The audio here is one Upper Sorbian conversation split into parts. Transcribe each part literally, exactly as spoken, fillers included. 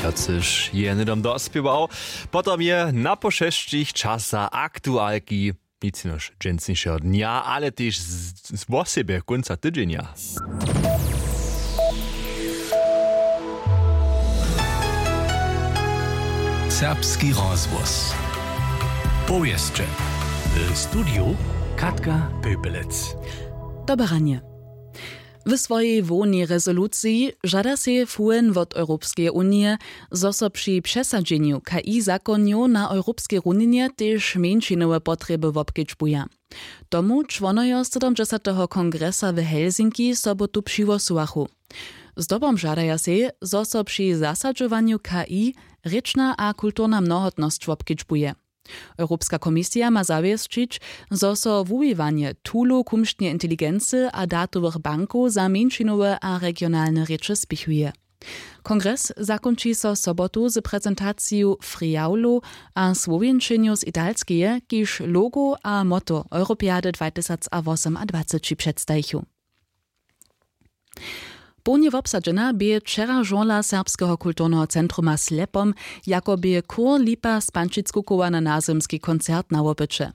Wjacež je hnydom dospěwał. Potom je na pošesćich časa aktualki, nic jenož dźensnišeho dnja, ale tež z- z- wosebje kónca tydźenja. Serbski rozhłos. Powěsće. W studiju Katka Pöpelec. Dobre ranje. W swojej hłownej rezoluciji žada sej F U N wot Europskeje unije, zo so při přesadźenju K I zakonjow na europskej runinje tež mjeńšinowe potrjeby wobkedźbuja. Tomu čłonojo sydomdźesateho kongresa w Helsinki sobotu přihłosowachu. Zdobom žadaja sej, zo so při zasadźowanju K I rěčna a kulturna mnohotnosć wobkedźbuje. Europska komisija ma zawěsćić, zo so wuwiwanje toolow kumšneje inteligency a datowych bankow za mjeńšinowe a regionalne rěče spěchuje. Kongres zakónči so sobotu z prezentaciju friawlow a słowjenčenjow z Italskeje, kiž logo a motto Europejady dwatysacwosomadwaceći předstajichu. Połnje wobsadźena bě wčera žurla Serbskeho kulturneho centruma Slepom, jako bě chór Lipa z Pančic kukowa na nazymski koncert na wopyće.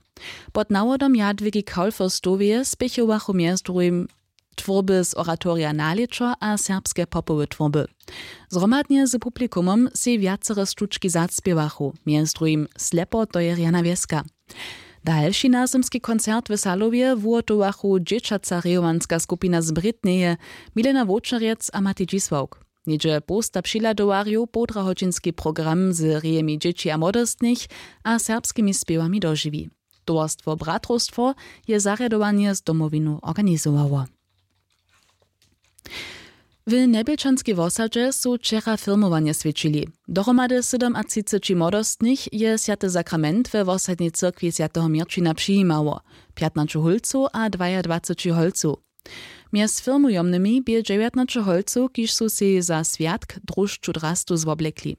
Pod nawodom Jadwigi Kaulfürstoweje spěchowachu mjez druhim twórby z oratorija Nalěćo a serbske popowe twórby. Zhromadnje z publikumom sej wjacere štučki zaspěwachu, mjez druhim Slepo, to je rjana wjeska. Dalši nazymski koncert w Salowje wuhotowachu dźěćaca rejowanska skupina z Brětneje, Milena Wočerjec a Matej Dźisławk. Něhdźe połsta přihladowarjow połdrahodźinski program z rejemi dźěći a młodostnych a serbskimi spěwami dožiwi. Towarstwo Bratrowstwo je zarjadowanje z Domowinu organizowało. W Njebjelčanskej wosadźe su wčera firmowanje swjećili. Dohromady sydomatřiceći młodostnych je swjaty sakrament we wosadnej cyrkwi swjateho Měrćina přijimało, pjatnaće hólcow a dwajadwaceći holcow. Mjez firmujomnymi bě dźewjatnaće holcow, kiž su sej za swjatk dróžču drastu zwoblekli.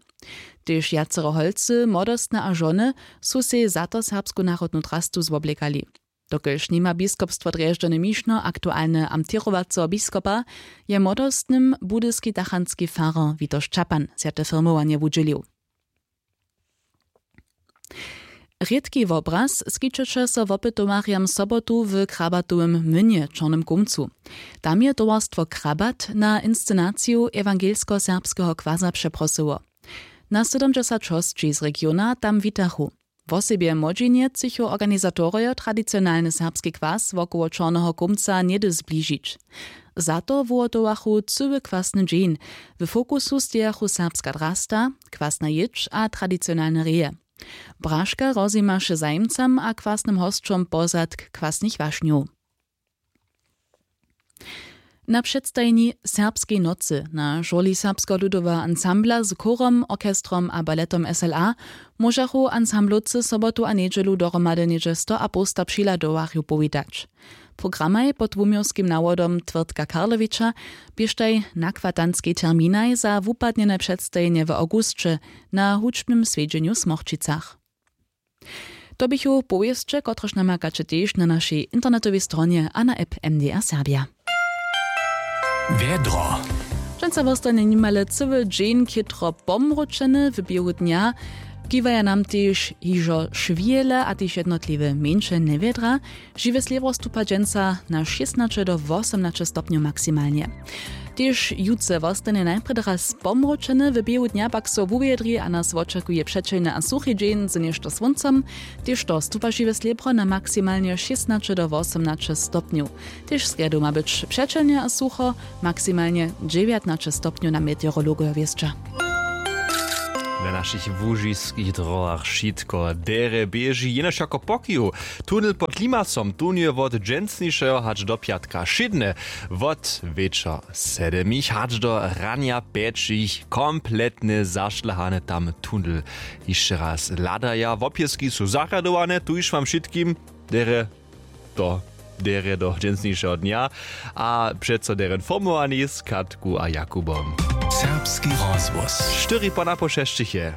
Tež wjacere holcy, młodostne a žony, su sej za to serbsku narodnu drastu zwoblekali. Dokelž nima biskopstwo Drježdźany mišno aktualne amtěrowaceho biskopa, je młodostnym budyski tachanski farar Witoš Čapan swjate firmowanje wudźělił. Rědki wobraz skićeše so wopytowarjam sobotu w Krabatowym młynje w Čornym Kómcu. Tam je towarstwo Krabat na inscenaciju ewangelsko-serbskeho kwaza přeprosyło. Na sydomdźesać hosći z regiona tam witachu. Wosebje młodźinje chcychu organizatorojo tradicionalny serbski kwas wokoło Čorneho Kómca něhdy zbližić. Za to wuhotowachu cyły kwasny dźeń. W fokusu stejachu serbska drasta, kwasna jědź a tradicionalne reje. Braška rozjimaše zajimcam a kwasnym hosćom pozadk kwasnych wašnjow. Na předstajenju Serbskej nocy na žurli Serbskeho ludoweho ansambla z chórom, orchestrom a baletom S L A móžachu ansamblowcy sobotu a njedźelu dohromady něhdźe stoapołsta přihladowarjow powitać. Programaj pod wuměłskim nawodom Twórtka Karlowiča běštaj nakwatanskej terminaj za wupadnjene předstajenje w awgusće na hudźbnym swjedźenju w Smorčicach. To běchu powěsće, kotrež namakaće tež na našej internetowej stronje a na app M D R Serbja. Wjedro. Dźensa wostanje nimale cyły dźeń chětro pomróčeny, w běhu dnja kiwaja nam tež hižo šwěle a tež jednotliwe mjeńše njewjedra. Žiwe slěbro stupa dźensa na šěsnaće do wosomnaće stopnjow maksimalnje. Tež jutře wostanje najprjedy raz pomróčeny, w běhu dnja pak so wuwjedri a nas wočakuje přećelny a suchi dźeń z něšto słóncom. Tež to stupa žiwe slěbro na maksimalnje šěsnaće do wosomnaće stopnjow. Tež srjedu ma być přećelnje a sucho, maksimalnje dźewjatnaće stopnjow na meteorologojo wěsća. Na našich łužiskich dróhach wšitko derje běži, jenož jako pokihu. Tunel pod Limasom tunje wot dźensnišeho hač do pjatka wšědne, wot wječor sedmich hač do ranja pjećich kompletnje zašlahany tam tunel. Hišće raz hladaja, wopěski su zarjadowane, tuž wam wšitkim derje do derje do dźensnišeho dnja a přeco derje informowani z Katku a Jakubom. Serbski rozhłos. Štyri po napoł šesćich je.